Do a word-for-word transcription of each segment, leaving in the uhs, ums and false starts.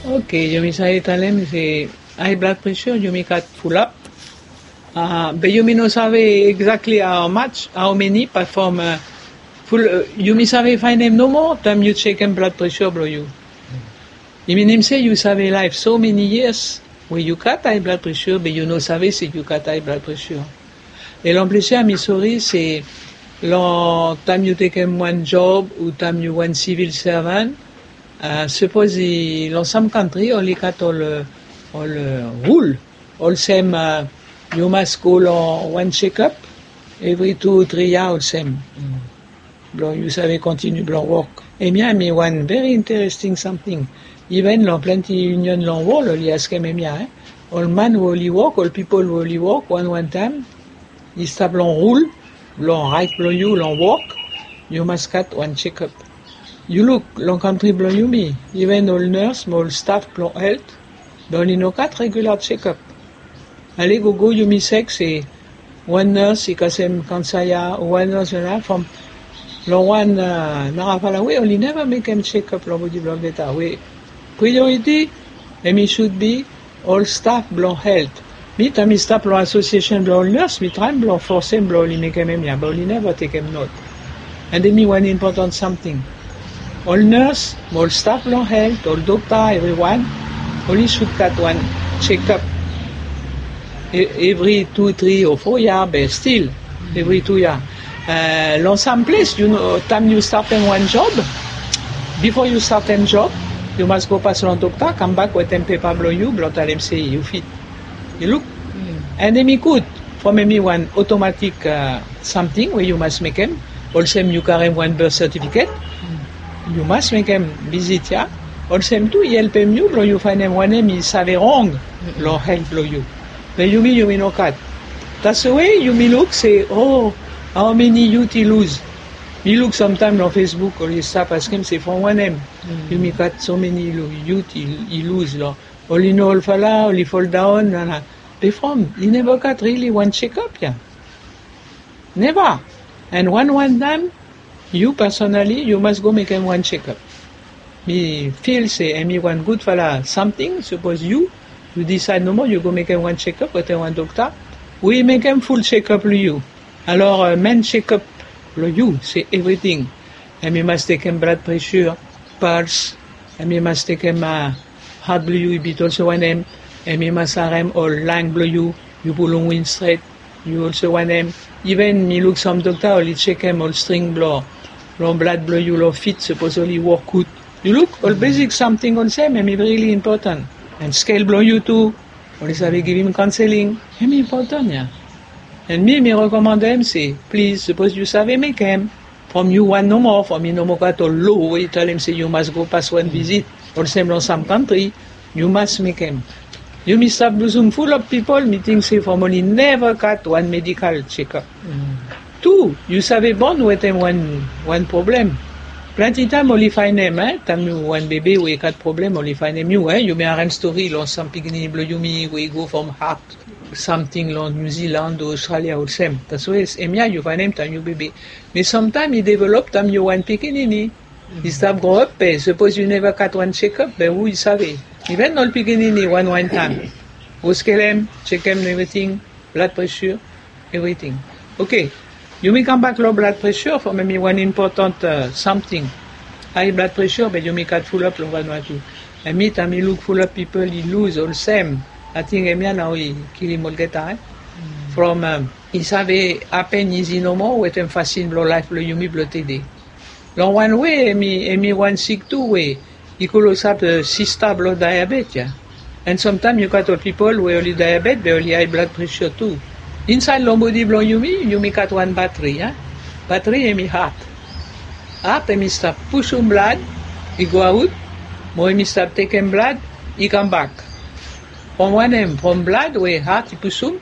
Oke, yumi save talem se high blood pressure yumi gat fulap. Be yumi no save exactly how much, how many, but from ful yumi save faenem nomo taem yu jekem blood pressure blong yu. I minim se yu save laef so many years we yu gat high blood pressure be yu no save se yu gat high blood pressure. E long ples ya mi sori se long taem yu tekem wan job o taem yu wan civil servant, sapos i long sam kantri oli gat ol rul olsem yu mas go long wan jekap evri tu tri ya olsem blong yu save kontiniu blong wok. Hemia mi wan veri interesting samting. Iven long plante union long wol oli askem hemia. Ol man we oli wok ol pipol we oli wok wanwan taem i stap long rul blong raet blong yu long wok, yu mas gat wan jekap. Yu luk long kantri blong yumi, iven ol nurs mo ol staf blong helt be oli no gat regula jekap. Ale gogo yumi sek se wan nurs i kasem kansa ya o wan nurs ya from long wan narafala we oli neva mekem jekap long bodi blong olgeta we prioriti hemi sud bi ol staf blong helt. Mi taem mi stap long asosiesen blong ol nurs mi traem blong fosem blong oli mekem hemia be oli neva tekem not. Ande mi wan impotan samting. Ol nurs mo ol staf blong helt ol dokta evriwan oli sud gat wan jekap evri tu tri o fo ya be stil evri tu ya. Long sam ples yu no taem yu statem wan job, bifo yu statem job yu mas go pas long dokta kambak wetem pepa blong yu blong talem se yu fit. Yu luk. Ande mi gud from hemi wan otomatik samting we yu mas mekem. Olsem yu karem wan birth sertifiket yu mas mekem vizit ya. Olsem tu i helpem yu blong yu faenem wanem i save rong long helt blong yu. Be yumi yumi no gat. Tasowe yumi luk se o, aomeni yut i luz? Mi luk samtaem long facebook oli stap askem se from wanem yumi gat so meni yut i luz long oli no olfala oli foldaon nana. Be from i neva gat rili wan jekap ya. Neva. An wan wan taem yu pasonali yu mas go mekem wan jekap. Mi fil se hemi wan gudfala samting sapos yu yu disaed nomo yu go mekem wan jekap wetem wan dokta we i mekem ful jekap long yu. Alor men jekap long yu se evriting. Hemi mas tekem blad presur, pals, hemi mas tekem hat blong yu i bit olsem wanem. Hemi mas harem ol lang blong yu yu pulum win stret. Yu olsem wanem. Iven mi luk sam dokta oli jekem ol string blong blad blong yu long fit sapos oli wok gud. Yu luk ol besik samting olsem hemi rili impotan. An skel blong yu tu oli save givim kaonseling. Hemi impotan ya. An mi mi rekomandem se plis sapos yu save mekem from yu wan nomo from i nomo gat ol lo we i talem se yu mas go pas wan vizit olsem long sam kantri. Yu mas mekem. Yumi stap luzum ful of pipol mi ting se from oli neva gat wan medikal jekap. Tu yu save bon wetem wan wan problem. Plante taem oli faenem taem yu wan bebe we i gat problem oli faenem yu. Yumi harem stori long sam pikinini blong yumi we i go from hat samting long niu ziland o ostralia olsem taso es hemia yu faenem taem yu bebe. Me samtaem i develop taem yu wan pikinini i stap gro op be sapos yu neva gat wan jekap be hu i save? Iven ol pikinini wan wan taem go skelem jekem evriting, blad presur, evriting. Oke. Yumi kambak long blad presur from hemi wan impotan samting. Ai blad presur be yumi gat fulap long vanua tu. An mi taem mi luk fulap pipol i luz olsem ating hemia nao i kilim olgeta. From i save hapen izi nomo wetem fasin blong laef blong yumi blong tede. Long wan we hemi wan sik tu we i klosap sista blong daiabet ya. An samtaem yu gat ol pipol we oli daiabet be oli ai blad presur tu. Insaed long bodi blong yumi yumi gat wan batri ya. Batri hemi hat. Hat hemi stap pusum blad i go aut mo hemi stap tekem blad i kambak. From wanem from blad we hat i pusum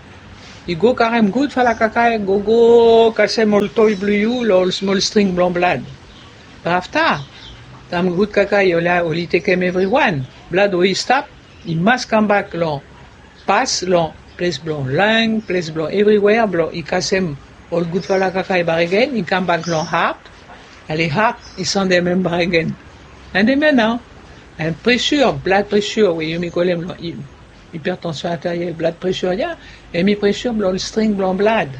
i go karem gudfala kakae gogo kasem ol toi blong yu long ol smol string blong blad. Be afta taem gud kakae oli tekem evriwan blad we i stap i mas kambak long pas long ples blong lang ples blong evriwea blong i kasem ol gudfala kakae baregen i kambak long hat. Ale hat i sandem hem baregen. An hemia nao And pressure, blood pressure, we yumi kolem long hipertension arteriel, blood pressure ya, hemi pressure blong string blong blood.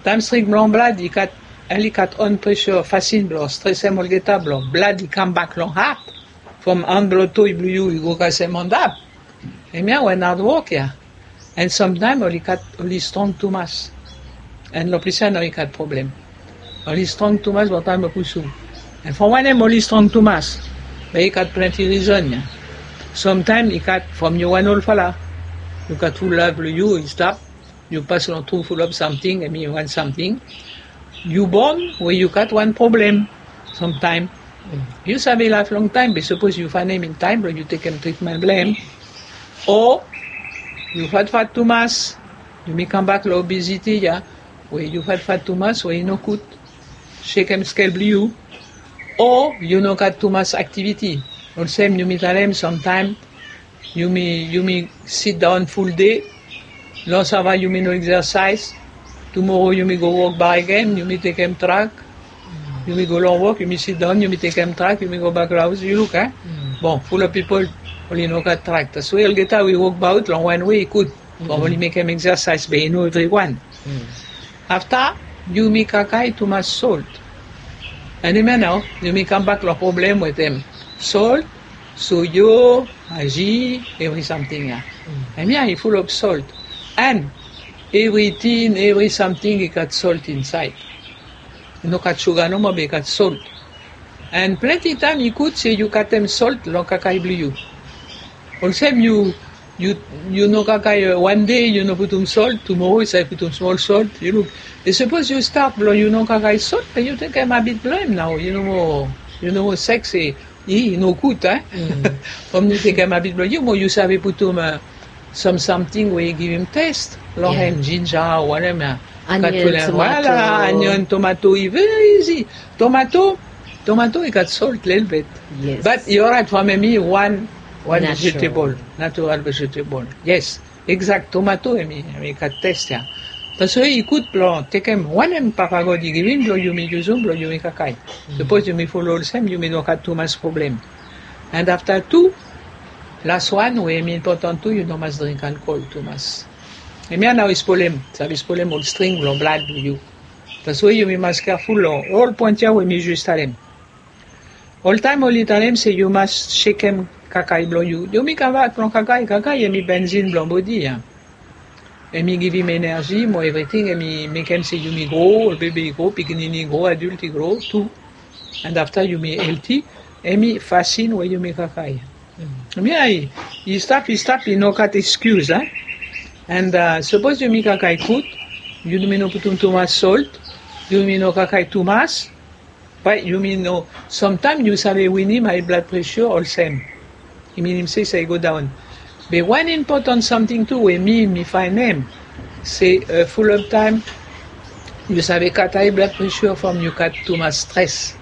Taem string blong blood i gat, ali gat on pressure, fasin blong stresem olgeta blong blood i kambak long hat. From han blong toe blong yu i go kasem antap. Hemia wan hard work ya. And sometimes oli gat, oli strong tumas. And long ples ya nao i gat problem. Oli strong tumas, but taem o pusu. And from wanem oli strong tumas? Be i gat plenty reason ya. Sometimes i gat from yu wan olfala. Yu gat ful laef blong yu i stap. Yu pas long tru fulap samting, hemi wan samting. Yu bon we yu gat wan problem. Somtaem yu save laef longtaem, be sapos yu faenem in taem blong yu tekem tritmen blong hem. O yu fatfat tumas, yumi kambak long obesity ya, we yu fatfat tumas we i no gud. Sekem skel blong yu. O yu no gat tumas aktiviti. Olsem yumi talem, somtaem yumi, yumi sidaon ful dei. Long sava yumi no exercise. Tumoro yumi go wok bak agen, yumi tekem trak. Yumi go long wok, yumi sidaon, yumi tekem trak, yumi go bak long haos, yu luk, eh? Bon, fulap pipol oli no gat trak. Taswe olgeta wi wokbaot long wan wei i gud. Bon, oli mekem exercise, be i no evriwan. Afta yumi kakae tumas solt. And hemia nao yumi kambak long problem wetem solt, soyo, aji, evri samting ya. Hemia i fulap solt. And evri tin, evri samting i gat solt insaed. I no gat suga nomo, be i gat solt. And plenti taem i gud se yu gatem solt long kakae blong yu. Olsem yu, yu, yu no kakae, eh, wan dei yu no putum solt, tumoro yu save putum smol solt, yu luk. Be sapos yu stat blong yu no kakae solt, be yu tekem abit blong hem nao, yu no moa, yu no moa sek se, i, i no gud, eh? From yu tekem abit blong yu, mo yu save putum, eh, sam samting we i givim tes long hem, jinja o wanem ya. Onion, tomato. Voila, onion, tomato, i very easy. Tomato, tomato i gat solt lelebet. But i oraet from hemi wan, wan vegetable, natural vegetable. Yes, exact, tomato hemi, hemi gat tes ya. Taswe i gud blong tekem wanem Papa God i givim blong yumi yusum blong yumi kakae. Sapos yumi folo olsem, yumi no gat tumas problem. And afta tu, las wan we hemi impotan tu, yu no mas dring alkol tumas. Hemia nao i spolem, save spolem ol string blong blad blong yu. Taswe yumi mas keaful long ol poen ya we mi jes talem. Oltaem oli talem se yu mas sekem kakae blong yu. Yumi kambak long kakae, kakae hemi benzin blong bodi ya. Hemi givim energi mo evriting, hemi mekem se yumi gro, ol bebe i gro, pikinini i gro, adilt i gro tu. And afta yumi helti, hemi fasin we yumi kakae. Hemia i stap, i stap, i no gat excuse, eh? And, uh, sapos yumi kakae gud, yumi no putum tumas solt, yumi no kakae tumas, bae yumi no, samtaem yu save winim high blood pressure olsem. I minim se i save go daon. Be wan impotan samting tu we mi, mi faenem se, uh, fulap taem yu save gat high blood pressure from yu gat tumas stres.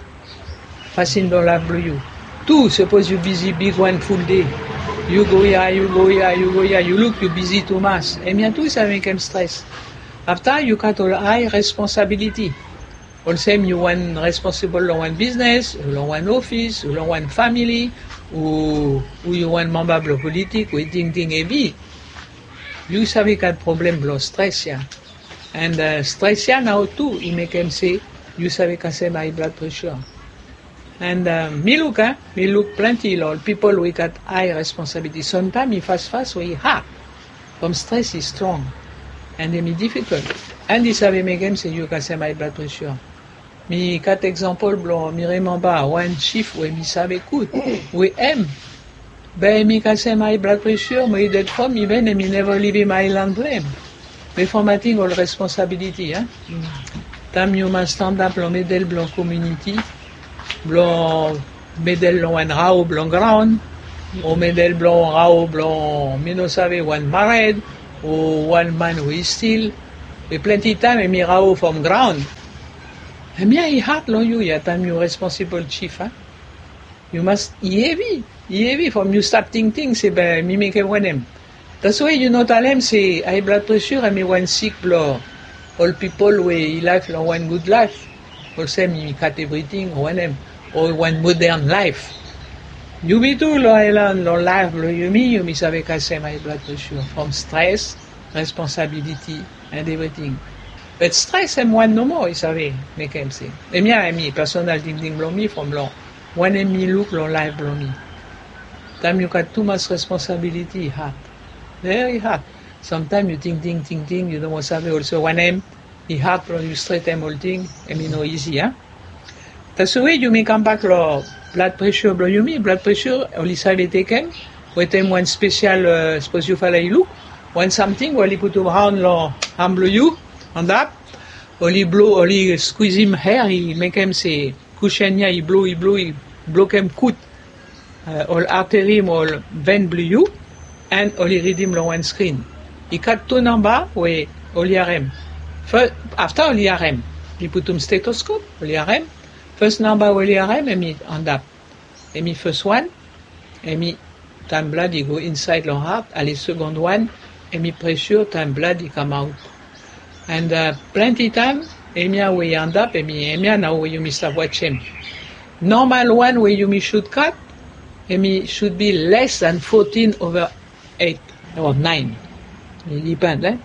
Fasin blong laef blong yu. Tu, sapos yu bizi bigwan ful dei. Yu go ya, yu go ya, yu go ya, yu luk yu bizi tumas. Hemia tu i save mekem stres. Afta yu gat ol high responsabiliti. Olsem yu wan responsable long wan biznes, o long wan ofis, o long wan famili, o, o yu wan mamba blong politik we tingting hevi. Yu save gat problem blong stres ya. And, uh, stres ya nao tu i mekem se yu save kasem high blood pressure. And, uh, mi luk, eh, mi luk plenti long ol pipol we i gat high responsabiliti. Samtaem i fasfas we i had. From stres i strong. And hemi difikol. And i save mekem se yu kasem high blood pressure. Mi gat eksampol blong, mi rememba wan chief we mi save gud, we hem, be hemi kasem high blood pressure, mo i ded from, iven hemi neva livim aelan blong hem. Be from ating ol responsabiliti, eh? Taem yu mas stanap long medel blong komuniti, blong medel long wan rao blong graon, o medel blong rao blong, mi no save, wan mared, o wan man we i stil, be plenti taem hemi rao from graon. Hemia i had long yu ya taem yu responsable chief, a? Yu mas, i hevi, i hevi from yu stap tingting se be mi mekem wanem. Taswe yu no talem se high blood pressure hemi wan sik blong ol pipol we i laef long wan gud laef. Olsem i gat evriting o wanem, o wan modern laef. Yumi tu long aelan, long laef blong yumi, yumi save kasem high blood pressure from stres, responsabiliti, and evriting. But stres hem wan nomo i save mekem se. Hemia hemi personal tingting blong mi from long wanem mi luk long laef blong mi. Taem yu gat tumas responsabiliti, i had. Very had. Samtaem yu tingting, tingting, yu no moa save olsem wanem. I had blong yu stretem olting, hemi no isi, a? Taswe yumi kambak long blood pressure blong yumi. Blood pressure oli save tekem wetem wan spesial, sapos yufala i luk, wan samting we oli putum raon long han blong yu, antap, oli blo, oli skuizim aer, i mekem se kushen ya i blo, i blo, i blokem gud ol arteri mo ol ven blong yu, and oli ridim long wan skrin. I gat tu namba we oli harem. Afta oli harem, oli putum stetoskop, oli harem. Fes namba we oli harem hemi antap. Hemi fes wan, hemi taem blad i go insaed long hat. Ale, segond wan, hemi pressure taem blad i kamaot. And plenti taem hemia we i antap, hemi, hemia nao we yumi stap wajem. Normal wan we yumi should gat, hemi should be less than fourteen over eight or nine. I depend, e?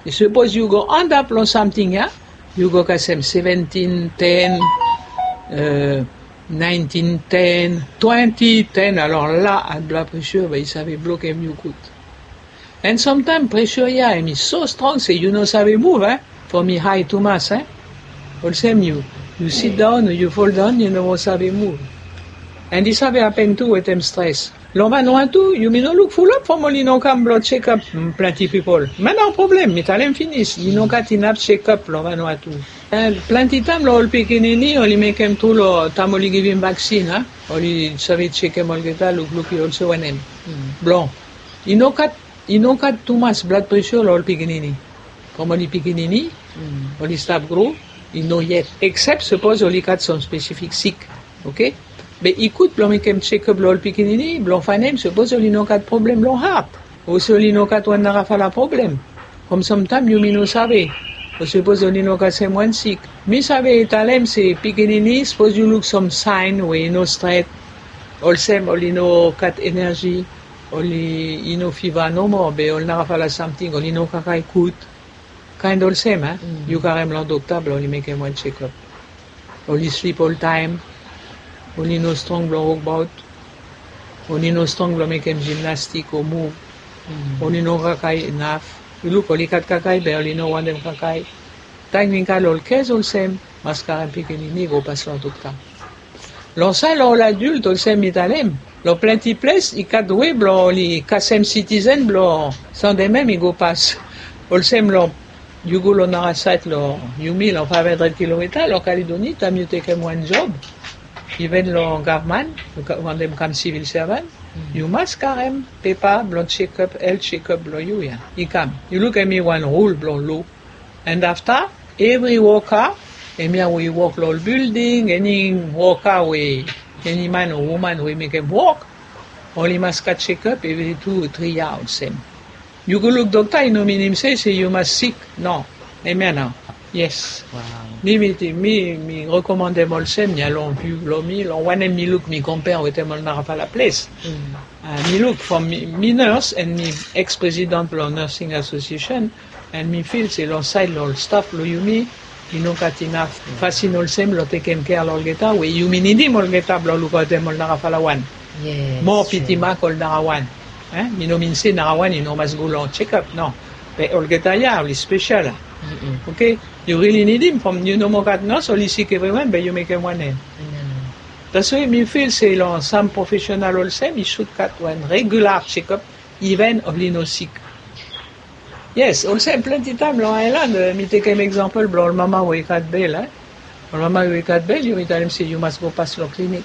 Sapos yu go antap long samting ya, yu go kasem seventeen ten, nineteen ten, twenty ten, alor la, high blood pressure bae i save blokem yu gud. And samtaem pressure ya hemi so strong se yu no save muv, e? From i hae tumas, e? Olsem yu, yu sitdaon o yu foldaon, yu no moa save muv. And i save hapen tu wetem stres. Long Vanuatu yumi no luk fulap from oli no kam blong jekop plenti pipol. Hemia nao problem, mi talem finis, i no gat inaf jekop long Vanuatu. And plenti taem long ol pikinini oli mekem tru long taem oli givim vaksin, a? Oli save jekem olgeta, lukluk i olsem wanem. Blong i no gat, i no gat tumas blood pressure long ol pikinini. From oli pikinini, oli stap gro, i no yet. Eksep sapos oli gat sam spesifik sik, oke? Be i gud blong mekem jekop long ol pikinini blong faenem sapos oli no gat problem long hat, o se oli no gat wan narafala problem. From samtaem yumi no save o sapos oli no gat samwan sik. Mi save talem se pikinini, sapos yu luk sam saen we i no stret, olsem oli no gat eneji, oli, i no fiva nomo, be ol narafala samting, oli no kakae gud. Kaen olsem, a? Yu karem long dokta blong oli mekem wan jekop. Oli slip oltaem, oli no strong blong wokbaot, oli no strong blong mekem jimnastik o muv, oli no kakae inaf. Yu luk, oli gat kakae be oli no wantem kakae. Teknikal ol kes olsem mas karem pikinini go pas long dokta. Long saed long ol adilt olsem mi talem, long plenti ples i gat we blong oli kasem sitizen blong sandemem i go pas. Olsem long, yu go long nara saed long yumi long faev handred kilomita long Kaledoni, taem yu tekem wan job, iven long gavman, wantem kam sivil sevan, yu mas karem pepa blong jekop, helt jekop blong yu ya i kam. Yu luk, hemi wan rul blong lo. And afta, evri woka, hemia we i wok long ol bilding, eni woka we, eni man o woman we i mekem wok, oli mas gat jekop evri tu o tri yia olsem. Yu go luk dokta i no minim se, se yu mas sik. No. Hemia nao. Yes. Mi, mi, mi rekomandem olsem ya long viu blong mi, long wanem mi luk, mi compare wetem ol narafala ples. Mi luk from mi, mi nurse and mi ex-president blong Nursing Association, and mi fil se long saed long ol staf blong yumi, i no gat inaf fasin olsem blong tekem kea long olgeta we yumi nidim olgeta blong lukaotem ol narafala wan. Mo pitimak ol narawan. Mi no min se narawan i no mas go long jekop, no. Be olgeta ya oli spesel. Oke? Yu rili nidim from yu no moa gat nurse, oli sik evriwan, be yu mekem wanem? Taswe mi fil se long sam profesenal olsem i sud gat wan regular jekop, iven oli no sik. Yes, olsem plenti taem long aelan, mi tekem eksampol blong ol mama we i gat bel, e? Ol mama we i gat bel, yumi talem se yu mas go pas long klinik.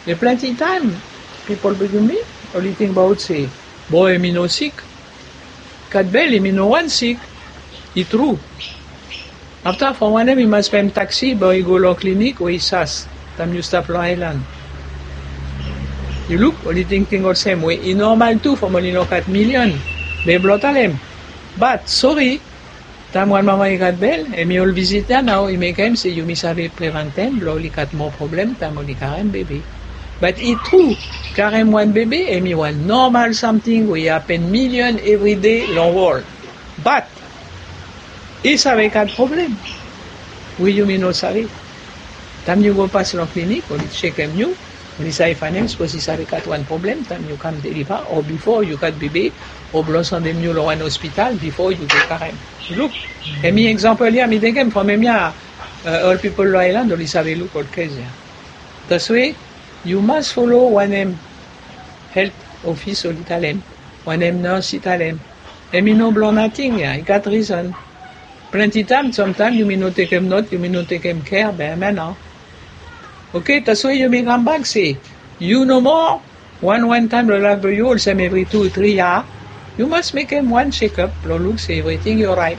Be plenti taem pipol blong yumi oli tingbaot se, bo, hemi no sik. Gat bel, hemi no wantem sik. I tru. Afta from wanem i mas pem taksi blong i go long klinik we i sas taem yu stap long aelan? Yu luk, oli tingting olsem we i nomal tu from oli no gat milion. Be blong talem, bat sori, taem wan mama i gat bel, hemi ol vizit ya nao i mekem se yumi save preventem blong oli gat moa problem taem oli karem bebe. Bat i tru, Karem wan bebe hemi wan normal samting we i hapen milion evride long wol. Bat i save gat problem we yumi no save. Taem yu go pas long klinik oli sekem yu, oli save faenem sapos i save gat wan problem taem yu kam deliva o bifo yu gat bebe o blong sendem yu long wan ospital bifo yu go karem. Luk, hemi eksampol ya mi tekem from hemia. Ol pipol long aelan oli save luk ol kes ya. Taswe yu mas folo wanem helt ofis oli talem, wanem nos i talem. Hemi no blong nating ya, i gat rison. Plenti taem samtaem yumi no tekem not, yumi no tekem kea be hemia nao. Oke, taswe yumi kambak se yu nomo wan wan taem long laef blong yu olsem evri tu tri ya, yu mas mekem wan sekap blong luk se evriting i oraet.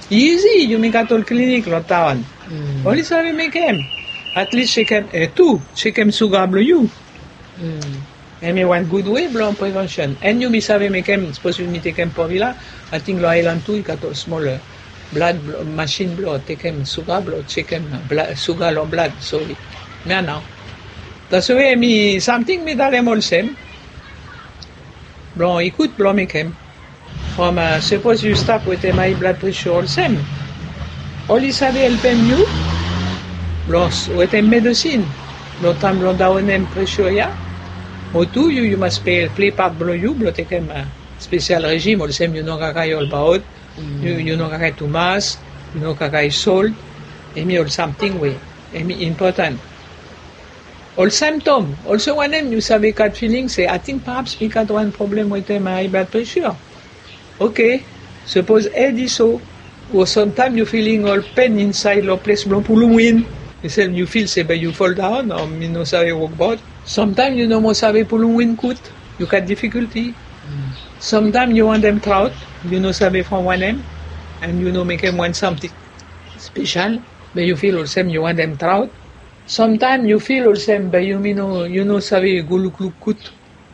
Izi, yumi gat ol klinik long taon. Oli save mekem. Atlis sekem e tu sekem suga blong yu. Hemi wan gud wei blong prevensen. An yumi save mekem sapos yumi tekem porvila, ating long aelan tu i gat ol smol blad masin blong tekem suga blong sekem suga long blad. Sori. Mia nao. Taswe hemi samting mi talem olsem blong i gud blong mekem. From sapos yu stap wetem ae blad presha olsem, oli save helpem yu blong wetem medesin blong taem blong daonem presha ya. O tu yu yu mas ple pat blong yu blong tekem spesial rejim olsem yu no kakae olbaot, yu no kakae tumas, yu no kakae sol. Hemi ol samting we hemi impotan. Ol semtom olsem wanem yu save gat filing se ating pahaps mi gat wan problem wetem ae blad presha. Oke, sapos hed i so o samtaem yu filing ol pen insaed long ples blong pulum win, yu fil se be yu foldaon o mi no save wokbaot. Samtaem yu no moa save pulum win gud, yu gat difikulti. Samtaem yu wantem traot, yu no save from wanem, an yu no mekem wan samting spesal be yu fil olsem yu wantem traot. Samtaem yu fil olsem be yumi no yu no save go lukluk gud.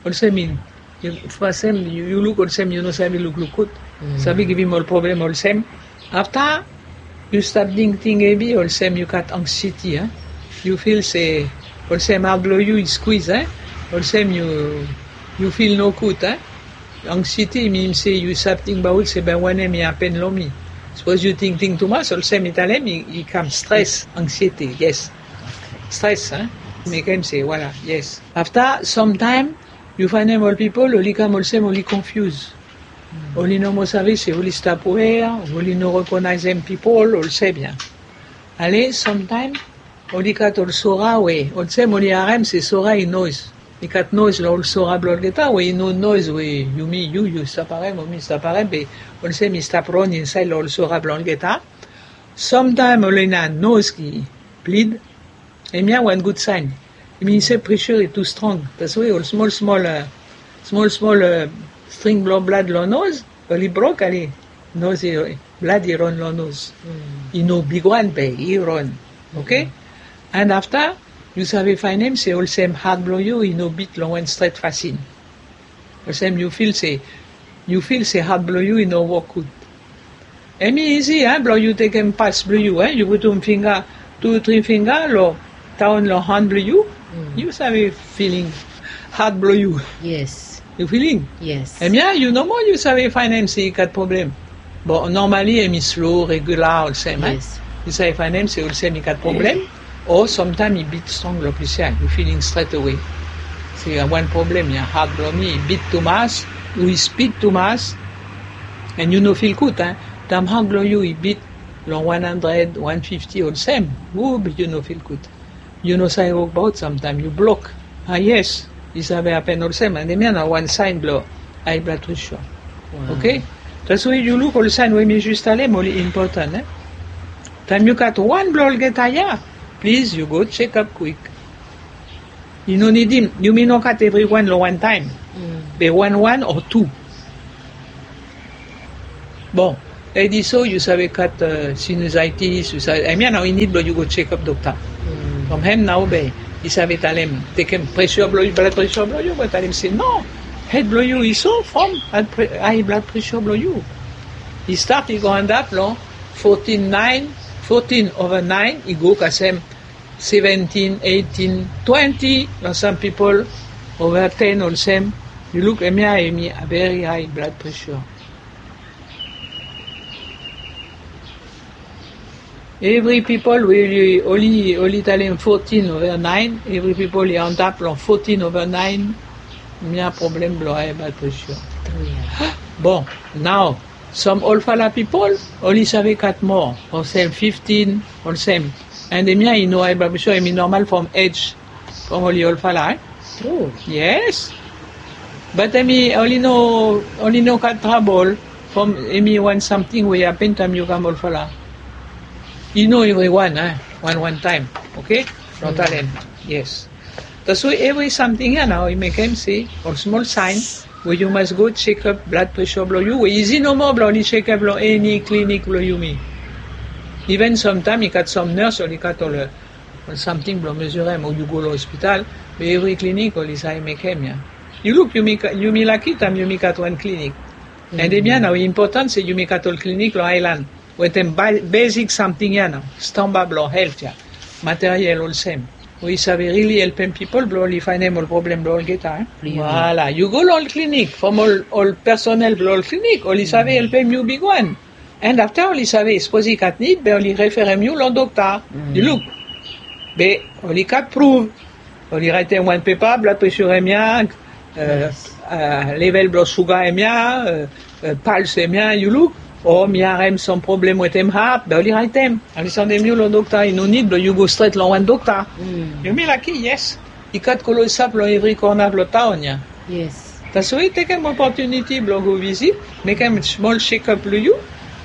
Olsem in yu fasem yu luk olsem yu no save lukluk gud. Save givim ol problem olsem. Afta yu stap tingting hevi olsem yu gat anksieti a. Yu fil se olsem hat blong yu i skwiz a. Olsem yu yu fil nogud a. Anksieti i minim se yu save tingbaot se be wanem i hapen long mi. Sapos yu tingting tumas olsem i talem i kam stres anksieti yes. Stres a. Mekem se wala yes. Afta samtaem yu faenem ol pipol oli kam olsem oli konfius. Oli no moa save se oli stap wea, oli no rekonaesem pipol olsem ya. Ale samtaem oli gat ol sora we olsem oli harem se sora i noes. I gat noes long ol sora blong olgeta we i no noes we yumi yu yu stap harem o mi stap harem be olsem i stap ron insaed long ol sora blong olgeta. Samtaem oli na noes ki blid. Hemia wan gud saen. I min se presha i tu strong. Taswe ol smol smol smol smol string blong blad long noz oli brok ale noz i blad i ron long noz. I no bigwan be i ron. Oke. An afta yu save faenem se olsem hat blong yu i no bit long wan stret fasin. Olsem yu fil se yu fil se hat blong yu i no wok gud. Hemi izi a blong yu tekem pas blong yu a yu putum finga tu tri finga long taon long han blong yu. Yu save filing hat blong yu. Yes. Yu filing. Yes. Hemia yu nomo yu save faenem se i gat problem. Bon normali hemi slo regula olsem a. Yu save faenem se olsem i gat problem. O samtaem i bit strong long ples ya yu filing stret awe. Se wan problem ya hat blong mi i bit tumas o i spid tumas. An yu no fil gud a. Taem hat blong yu i bit long wan handred wan fifti olsem. O be yu no fil gud. Yu no save wokbaot samtaem yu blok. A yes. I save hapen olsem an hemia na wan saen blong ae blad presha. Oke. Taswe yu luk ol saen we mi jus talem oli impotan. Taem yu gat wan blong olgeta ya, plis yu go sekap kwik. I no nidim yumi no gat evriwan long wan taem. Be wan wan o tu. Bon, edi so yu save gat sinizaitis yu save hemia nao i nid blong yu go sekap dokta. From hem nao be i save talem tekem presha blong yu blad presha blong yu go talem se no, hed blong yu i so from ae blad presha blong yu. I stat i go antap long fotin naen, fotin ova naen i go kasem seventin eitin twenti long sam pipol. Over ten olsem, yu luk, hemia hemi very high blood pressure. Evri pipol we oli, oli talem fourteen over nine, evri pipol i antap long fourteen over nine, hemia problem blong high blood pressure. Bon, nao, some olfala pipol oli save kat moa, olsem fifteen, olsem. And hemia i no high blood pressure, hemi normal from age. From oli olfala, eh? Tru. Yes. But hemi oli no, oli no gat trabol from hemi wan samting we i hapen taem yu kam olfala. I no evriwan, eh? Wan wan taem, okay? Long talem. Yes. Taswe evri samting ya nao i mekem se ol smol sign we yu mas go check up blood pressure blong yu, we izi nomo blong oli check up long eni klinik blong yumi. Even samtaem i gat some nurse oli gat ol, ol samting blong mesurem o yu go long hospital, be evri klinik oli save mekem ya. Yu luk, yumi ka-, yumi laki taem yumi gat wan klinik. And hemia nao i impotan se yumi gat ol klinik long aelan wetem ba-, basic samting ya nao, stamba blong helt ya, materiel olsem, we i save rili helpem pipol blong oli faenem ol problem blong olgeta, eh? Blong yumi. Voilà, yu go long ol klinik, from ol, ol personel blong ol klinik oli save helpem yu bigwan. And afta oli save, sapos i gat nid, be oli referem yu long dokta. Yu luk, be oli gat pruv. Oli raetem wan pepa, blood pressure hemia, eh, eh, level blong suga hemia, eh, eh, pulse hemia, yu luk. O mi harem some problem wetem heart, be oli raetem. Oli sandem yu long dokta, i no nid blong yu go stret long wan dokta. Yumi laki, yes. I gat Close Up long evri kona blong taon ya. Yes. Taswe tekem opotuniti blong go visit, mekem smol check up long yu,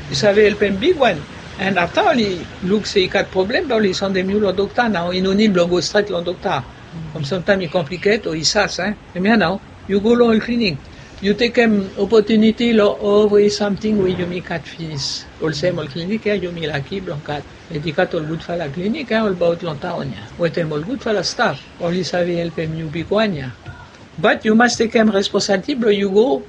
i save helpem bigwan. And afta oli luk se i gat problem, be oli sandem yu long dokta nao, i no nid blong go stret long dokta. From samtaem i complicated o i sas, eh? Hemia nao, yu go long ol klinik. Yu tekem opotuniti long evri samting we yumi gat finis. Olsem ol klinik ya yumi laki blong gat. Be i gat ol gudfala klinik ya olbaot long taon ya wetem ol gudfala staf. Oli save helpem yu bigwan ya. But yu mas tekem responsibility blong yu go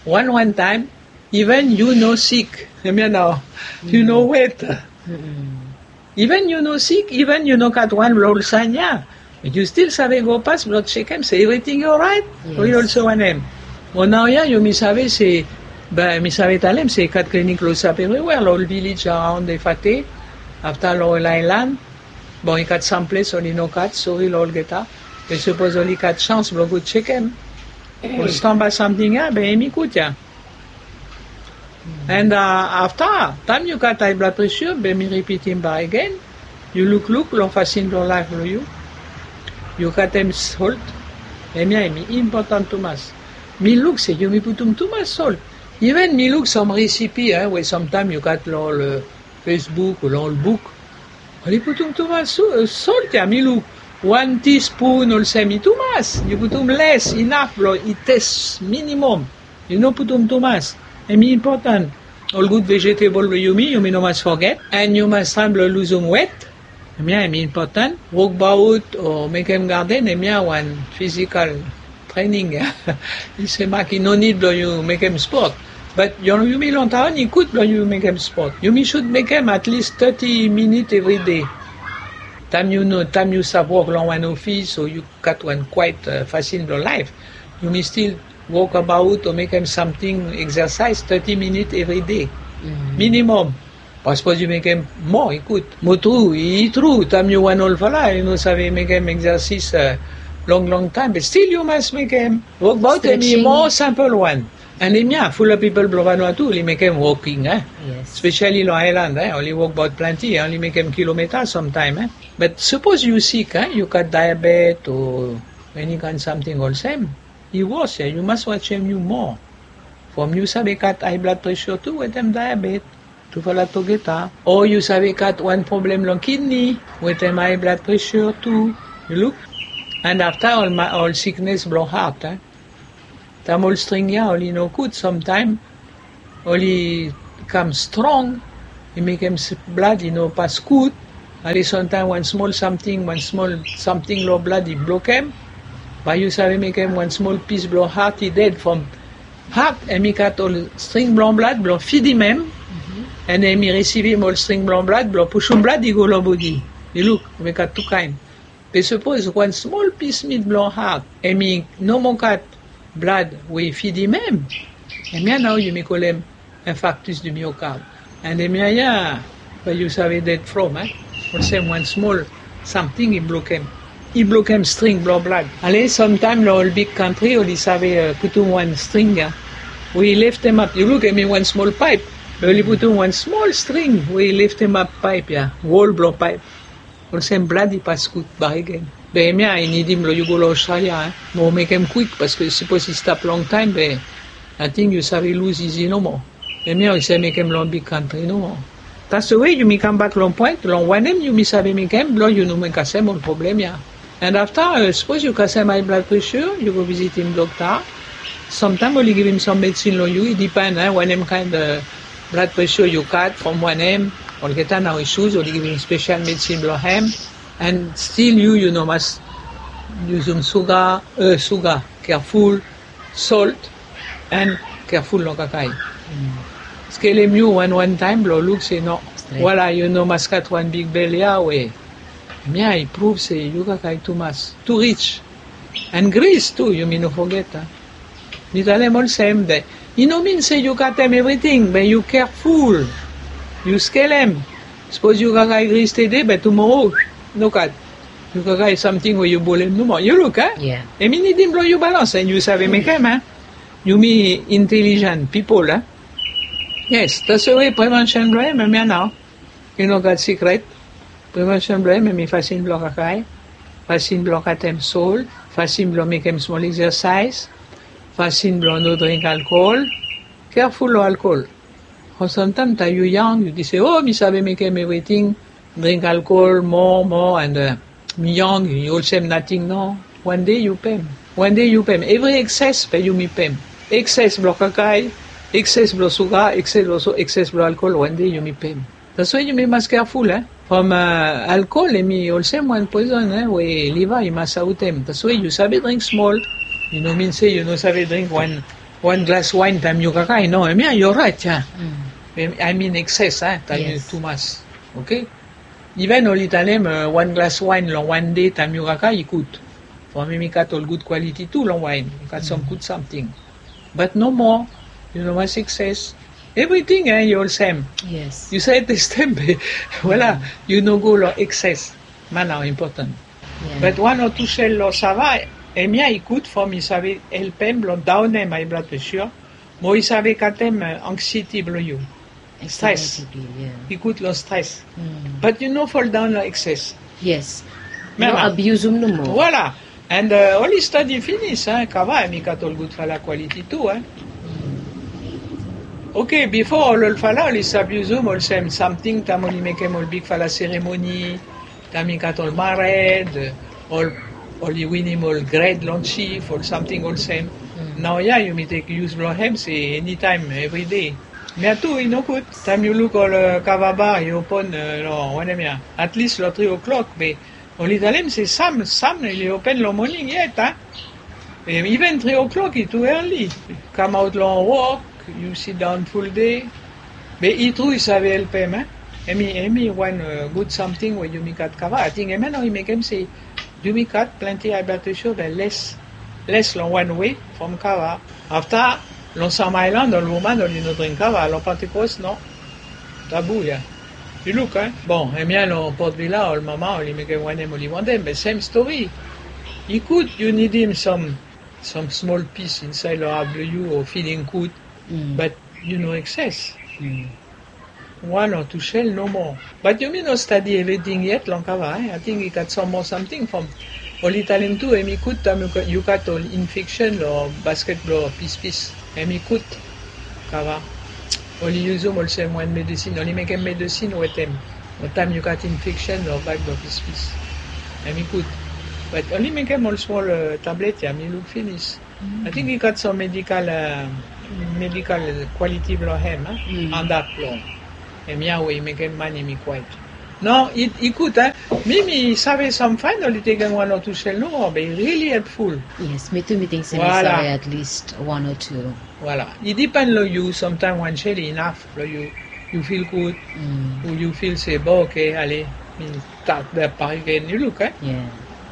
wan wan taem, even yu no sik. Hemia nao, yu no wet. Even yu no sik, even yu no gat wan blong ol sign ya, yu stil save go pas blong chekem se evriting i oraet. Yes. Oli olsem wanem. Mo naoia yumi save se, be mi save talem se i gat klinik Close Up evriwea, long ol vilej around Efate, afta long ol aelan. Bon, i gat sam ples oli no gat, sori long olgeta. Be sapos oli gat sans blong go chekem ol stamba samting ya, be hemi gud ya. And, uh, afta, taem yu gat high blood pressure, be mi ripitim bak agen, yu lukluk long fasin blong laef blong yu. Yu gat hem salt, hemia hemi impotan tumas. Mi luk se yumi putum tumas salt. Even mi luk sam recipe, eh, we samtaem yu gat long ol, uh, Facebook o long ol buk. Oli putum tumas su-, uh, salt ya, mi luk wan teaspoon olsem i tumas. Yu putum les, inaf blong i tes minimum. Yu no putum tumas. Hemi impotan. Ol gud vegetable blong yumi, yumi no mas foget. And yu mas traem blong luzum wet. Hemia hemi impotan. Wokbaot o mekem garden, hemia wan physical training ya. I se mak i no nid blong yu mekem sport. But yumi long taon i gud blong yu mekem sport. Yumi should mekem at least thirty minit evriday. Taem yu no, taem yu stap wok long wan ofis o yu gat wan kwaet, uh, fasin blong laef, yumi stil wokabaot o mekem samting, exercise thirty minit evriday. Minimum. Be sapos yu mekem moa, i gud. Mo tru, i tru, taem yu wan olfala, yu no save mekem exercise, uh, long long taem, be stil yu mas mekem. Wokbaot hemi moa simpol wan. And hemia, fulap pipol blong Vanuatu oli mekem walking, eh? Yes. Especially long aelan, eh? Oli wokbaot plante, eh? Oli mekem kilomita samtaem, eh? But sapos yu sik, eh? Yu gat diabetes o eni kaen samting olsem, i wos ya, yu mas wajem yu moa. From yu save gat high blood pressure tu wetem diabetes. Tufala togeta. O yu save gat wan problem long kidney wetem high blood pressure tu. Yu luk? And afta ol ma-, ol siknes blong heart, eh? Taem ol string ya oli no gud, samtaem oli kam strong, i mekem s-, blad i no pas gud. Ale samtaem wan smol samting, wan smol samting long blad i blokem. Bae yu save mekem wan smol pis blong heart i ded from heart, hemi gat ol string blong blad blong fidim hem. And hemi risivim ol string blong blad blong pusum blad i go long bodi. Yu luk, hemi gat tu kaen. Be sapos wan smol pis mit blong hat hemi no moa gat blad we i fidim hem, hemia nao yumi kolem infarctus du myocarde. And hemia ya bae yu save ded from, eh? Olsem wan smol samting i blokem, i blokem string blong blad. Ale, samtaem long ol big kantri oli save putum wan string ya we i leftemap. Yu luk, hemi wan smol paep, be oli putum wan smol string we i leftemap paep ya, wol blong paep. Olsem blad i pas gud bakegen. Be hemia i nidim blong yu go long Australia, eh? Mo mekem kwik, paske sapos i stap longtaem be ating yu save lus izi nomo. Hemia yu save mekem long big kantri nomo. Taswe yumi kambak long poen long wanem yumi save mekem blong yu no kasem ol problem ya. And afta, sapos yu kasem high blood pressure, yu go vizitim dokta. Samtaem oli givim sam medisin long yu, i dipen, eh, wanem kaen blad pressure yu gat, from wanem. Olgeta nao i suz oli givim spesial medisin blong hem. And stil yu, yu no mas yusum suga, eh, suga, careful, solt, and careful long kakae. Skelem yu wan wan taem blong luk se no. Wala, yu no mas gat wan big bel ya we hemia i pruv se yu kakae tumas, tu rich. And gris tu, yumi no foget, a. Mi talem olsem, be i no min se yu katem evriting, be yu careful. Yu skelem. Sapos yu kakae gris tede, be tumoro nogat. Yu kakae samting we yu bolem nomo. Yu luk, a? Hemi nidim blong yu balans, and yu save mekem, a. Yumi intelijen pipol, a. Yes, taswe prevention blong hem hemia nao. I no gat sikret. Prevention blong hem hemi fasin blong kakae, fasin blong katem sol, fasin blong mekem smol eksersaes, fasin blong no dring alkol. Careful long alkol. From samtaem taem yu yang yu ting se, o, mi save mekem evriting, dring alkol moa moa, and, eh, mi yang, yu olsem nating, no. Wan dei yu pem. Wan dei yu pem. Evri ekses be yumi pem. Ekses blong kakae, ekses blong suga, ekses blong so, ekses blong alkol, wan dei yumi pem. Taswe yumi mas careful, eh. From, eh, alkol hemi olsem wan poizon, eh, we liva i mas aotem. Taswe yu save dring smol. I no min se yu no save dring wan, wan glas waen taem yu kakae, no. Hemia yu oraet, ya. I min ekses, eh, taem yu tumas. Oke? Iven oli talem, eh, wan glas waen long wan dei taem yu kakae i gud. From hemi gat ol gud kwaliti tu long waen. I gat sam gud samting. But nomo, yu no mas ekses. Evriting, eh, i olsem. Yu save testem be, wala, yu no go long ekses. Hemia nao impoten. But wan o tu sel long sava, hemia i gud from i save helpem blong daonem high blood pressure. Mo i save katem, eh, anxiety blong yu. Stres. I gud long stres. But yu no foldaon long ekses. Yes. No abiusum nomo. Wala. And, eh, oli stadi finis, eh, kava hemi gat ol gudfala kwaliti tu, eh. Oke, bifo ol olfala oli stap yusum olsem samting taem oli mekem ol bigfala seremoni, taem i gat ol mared, ol, oli winim ol gred long jif, ol samting olsem. Naoia yumi tek yus blong hem se enitaem, evri dei. Hemia tu i no gud. Taem yu luk ol, eh, kava bar i open, eh, long wanem ya, at least long tri o'clock, be oli talem se sam, sam oli open long moning yet, a. Iven tri o'clock i tu early. Kamaot long wok, yu sidaon ful dei. Be i tru i save helpem, eh. Hemi, hemi wan, eh, gud samting we yumi gat kava. Ating hemia nao i mekem se yumi gat plante high blood pressure be les, les long wan wei from kava. Afta long sam aelan ol woman oli no dring kava, long Pentecost, no. Tabu ya. Yu luk, eh? Bon, hemia long Port Vila ol mama oli mekem wanem oli wantem, be sem stori. I gud yu nidim sam, sam smol pis insaed long hat blong yu o filing gud, but yu no ekses. Wan o tu sel nomo. But yumi no stadi evriting yet long kava, eh? Ating i gat sam moa samting from oli talem tu hemi gud taem yu gat ol infeksen long basket blong pispis. Hemi gud. Kava. Oli yusum olsem wan medisin, oli mekem medisin wetem. Taem yu gat infeksen long bag blong pispis. Hemi gud. But oli mekem ol smol, eh, tablet ya, mi luk finis. Ating i gat sam medikal, eh, medikal kwaliti blong hem, a? Antap blong hemia we i mekem man hemi kwaet. No, i, i gud, a. Mi, mi save sam faen oli tekem wan o tu sel nomo, be i really helpful. Yes, mi tu mi ting se mi save at least wan o tu. Wala. I dipen long yu, samtaem wan sel i inaf blong yu, yu fil gud, o yu fil se, bo, oke, ale, mi stat bakegen, yu luk, eh?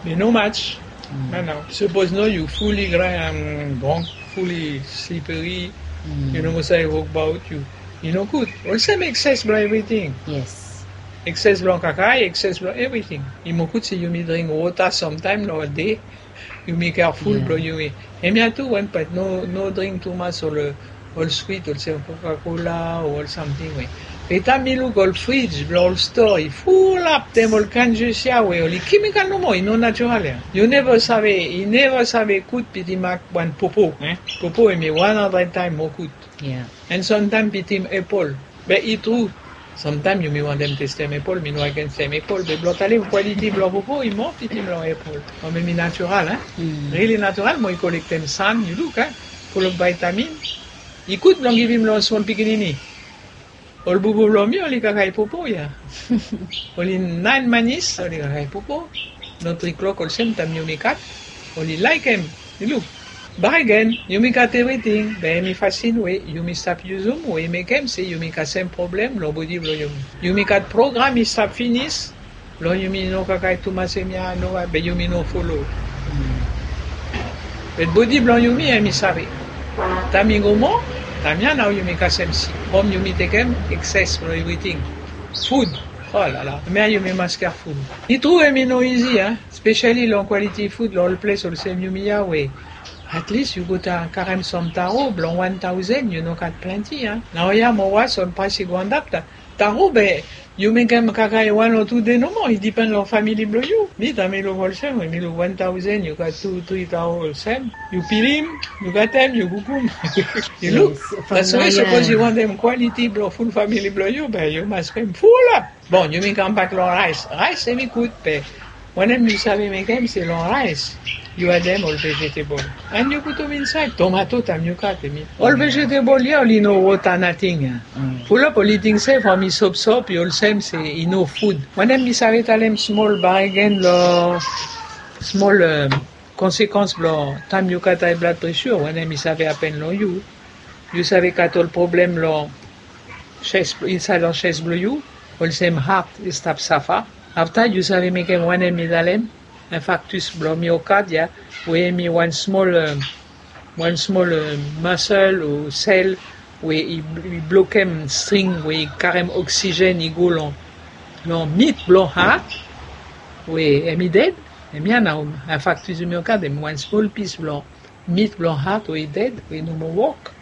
Mi no match. Nanaw, sapos no yu fully drank, fully slippery, yu no moa save wokbaot, yu i no gud. Olsem ekses blong evriting. Ekses blong kakae, ekses blong evriting. I moa gud se yumi dring wota samtaem long de. Yumi careful blong yumi. Hemia tu wan pat, no, no dring tumas ol, ol swit, olsem Coca-Cola o ol samting we. Be taem mi luk ol fridge blong ol stoa i fulap dem ol kind jus ya we oli kemikal nomo, i no natural ya. Yu neva save, i neva save gud bitim wan popo. Popo hemi wan handred taem moa gud. An samtaem bitim epol. Be i tru. Samtaem yumi wantem testem epol, mi no agens epol, be blong talem kwaliti blong popo i moa bitim long epol. Mo hemi natural, e? Rili natural, mo i kolektem san, yu luk, e? Fulap vaitamin. I gud blong givim long smol pikinini. Ol bubu blong mi oli kakae popo ya. Oli naen manis, oli kakae popo. Long tri klok olsem taem yumi kat, oli laekem. Yu luk. Bakegen, yumi gat evriting, be hemi fasin we yumi stap yusum we i mekem se yumi kasem problem long bodi blong yumi. Yumi gat program i stap finis blong yumi no kakae tumas hemia, no, be yumi no folo. Be bodi blong yumi hemi save. Taem i go moa, taem ya nao yumi kasem sik. From yumi tekem ekses blong evriting. Fud. Olala. Hemia yumi mas careful. I tru hemi no izi, a? Spesiali long kwaliti fud long ol ples olsem yumi ya we at least yu go karem sam taro blong wan taosen, yu no gat plante, a? Naoia mo was ol praes i go antap. Taro be yu mekem kakae wan o tu dei nomo, i dipen long famili blong yu. Mi taem mi luk olsem, we mi luk wan taosen, yu gat tu, tri taro olsem. Yu pilim, yu gatem, yu kukum. Yu luk. Taswe sapos yu wantem kwaliti blong ful famili blong yu, be yu mas mekem fulap. Bon, yumi kambak long raes. Raes hemi gud, be wanem yu save mekem se long raes yu adem ol vegetebol. An yu putum insaed tomato taem yu kat hemi. Ol vegetebol ya oli no wota nating ya. Fulap oli ting se from i sopsop i olsem se i no fud. Wanem mi save talem smol bakegen long smol konsekans blong taem yu gat high blood pressure, wanem i save hapen long yu. Yu save gat ol problem long ches, insaed long ches blong yu, olsem hat i stap safa. Afta yu save mekem wanem mi talem, infarktus blong miokad ya, we hemi wan smol, wan smol masel o sel we i, i blokem string we i karem oksigen i go long, long mit blong hat, we hemi ded. Hemia nao infarktus miokad, hemi wan smol pis blong mit blong hat we i ded, we i no moa wok.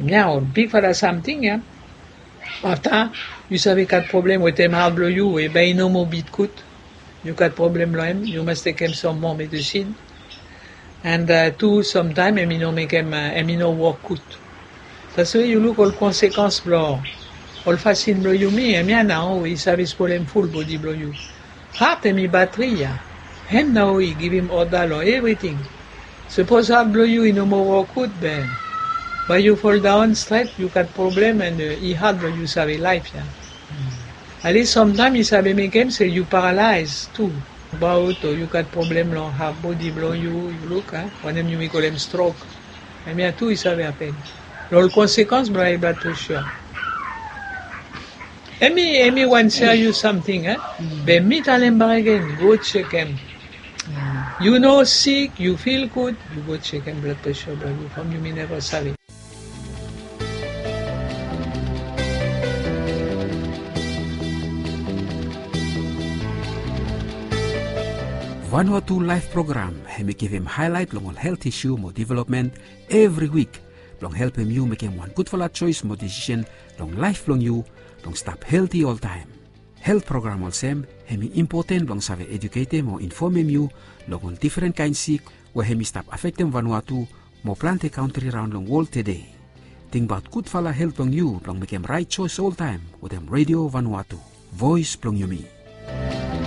Hemia ol bigfala samting ya. Afta yu save gat problem wetem hat blong yu we bae i no moa bit gud. Yu gat problem long hem, yu mas tekem sam moa medisin. An tu samtaem hemi no mekem, hemi no wok gud. Taswe yu luk ol konsekans blong ol fasin blong yumi, hemia nao i save spolem ful bodi blong yu. Hat hemi batri ya. Hem nao i givim oda long evriting. Sapos hat blong yu i no moa wok gud, be bae yu foldaon stret, yu gat problem an i hat blong yu save laef ya. Alis samtaem i save mekem se yu paralaes tu. Abaot o yu gat problem long haf bodi blong yu, yu luk, a, wanem yumi kolem strok. Hemia tu i save hapen. Long ol konsekans blong high blood pressure. Hemi, hemi wan serious samting, a? Be mi talem bakegen, go jekem. Yu no sik, yu fil gud, yu go jekem blood pressure blong yu from yumi neva save. Vanuatu Laef Program hemi givim haelaet long ol helt isu mo developmen evri wik blong helpem yu mekem wan gudfala joes mo desisen long laef blong yu blong stap helti oltaem. Helt program olsem hemi impoten blong save eduketem o infomem yu long ol difren kaen sik we hemi stap afektem Vanuatu mo plante kantri raon long wol tede. Tingbaot gudfala helt blong yu blong mekem raet joes oltaem wetem Redio Vanuatu, voes blong yumi.